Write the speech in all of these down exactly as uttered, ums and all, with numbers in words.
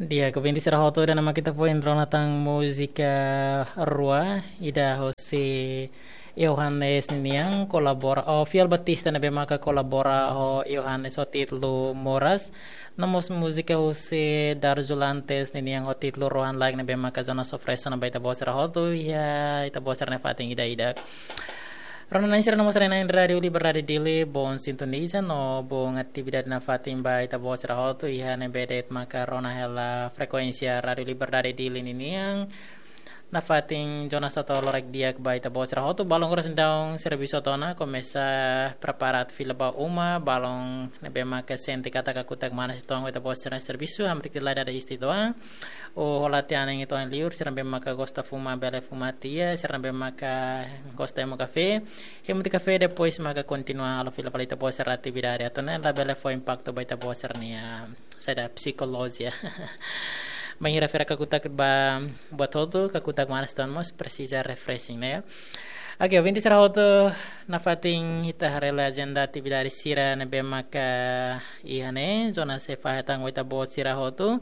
Di'ak, ouvinte sira hotu, ida-ne'e mak ita foin rona tan múzika rua, ida husi Yohanes ninian kolabora, oh, Fiel Batista ne'ebé maka kolabora ho Yohanes ho títulu Moras. No mós múzika husi Darjulantes ninian ho títulu Rohan Laek ne'ebé maka Jonas oferese ona ba ita-boot sira hotu, iha ita-boot sira-nia fatin ida-idak. Rona-na'in sira no mós haree-na'in Rádiu Liberdade Dili, boon sintoniza no boon atividade nafatin ba ita-boot sira hotu, iha ne'ebé de'it maka rona hela frekuénsia Rádiu Liberdade Dili ninian. Nafatin Jonas hato'o loron di'ak ba ita-boot sira hotu, balun oras daudaun servisu hotu ona, komesa prepara atu fila ba uma, balun ne'ebé maka sente katak kakutak manas uitoan ho ita-boot sira servisu, hamriik tiha lai dada iis tiha uitoan. Ou hola tiha an uitoan liur, sira ne'ebé maka gosta fuma bele fuma tiha, sira ne'ebé maka gosta hemu kafé, hemu tiha kafé, depois maka kontinua halo fila fali ita-boot sira atividade, atu nune'e labele fó impaktu ba ita-boot sira-nia saida, psikolojia. Bainhira feira kakutak ba buat hotu, kakutak manas uitoan mós presiza refreshing, ne'e? Oke, ouvinte sira hotu, nafatin ita haree hela ajenda atividade sira ne'ebé maka iha ne'e, Jonas sei fahe tan ho ita-boot sira hotu.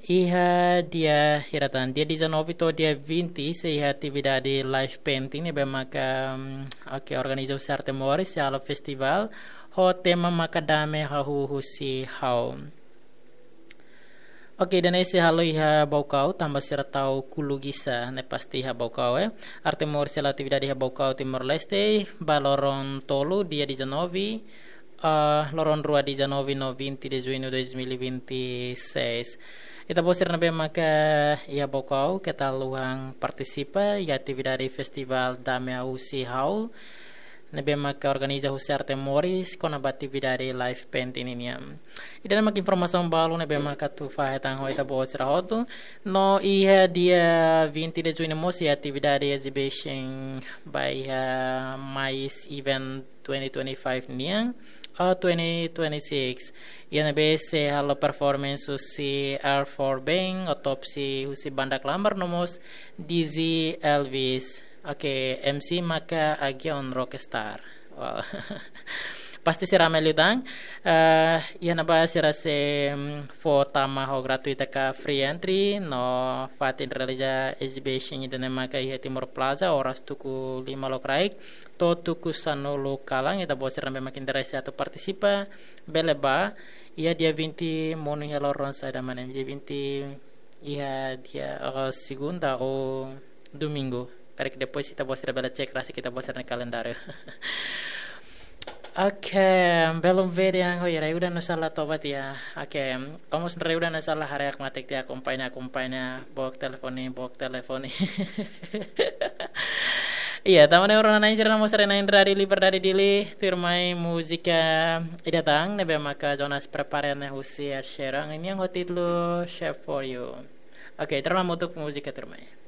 Iha dia hira tan, dia dezanove to'o dia vinte sei iha atividade live painting ne'ebé maka, mm, oke, organiza husi Arte Moris, sei halo festival ho tema maka Dame Hahú Husi Ha'u. Oke, ida-ne'e sei halo iha Baucau, tanba sira tau Kulu Gisa, ne'e pasti iha Baucau, eh. Arte Moris sei halo atividade iha Baucau, Timor-Leste, ba loron tolu, dia dezanove, ah, loron rua, dezanove no vinte de junho dois mil e vinte e seis. Ita-boot sira ne'ebé maka iha Baucau, keta haluha partisipa iha atividade festival Dame Hahú Husi Ha'u ne'ebé maka organiza husi Arte Moris, kona-ba atividade live painting ninian. Ida-ne'e mak informasaun balu ne'ebé mak atu fahe tan ho ita-boot sira hotu. No iha dia vinte de junho mós iha atividade exhibition ba iha Mais Event twenty twenty-five nian, oh, twenty twenty-six. Iha ne'ebé sei halo performance husi R four Band, Autopsy husi Banda Klambar, no mós D J Elvis. Oke, M C maka Agion Rockstar. Wow. Pasti sei rame liután. Eh, iha ne'ebá sira sei, mm, fó tama ho gratuita ka free entry, no fatin realiza exhibition ida-ne'e maka iha Timor Plaza, oras tuku lima lokraik to'o tuku sanulu kalan, ita-boot sira ne'ebé mak interese atu partisipa, bele bá, iha dia vinte monu iha loron saida mak ne'e, dia vinte iha dia, eh, segunda ou domingu. Karik depois ita-boot sira bele cek rasik ita-boot sira-nia kalendáriu. Oke, belum vede yang, oh ya, rai udah nusala tobat ya. Oke, kamu sendiri udah nusala hari aku mati dia akompaña, akompaña, book telefoni, book telefoni. Iya, tama ne'e rona-na'in sira no mós haree-na'in Rádiu Liberdade Dili, tuirmai múzika ida tan, ne'ebé maka Jonas prepara ne'e husi Ed Sheeran, ninian ho títulu Shape for You. Oke, terima untuk múzika tuirmai.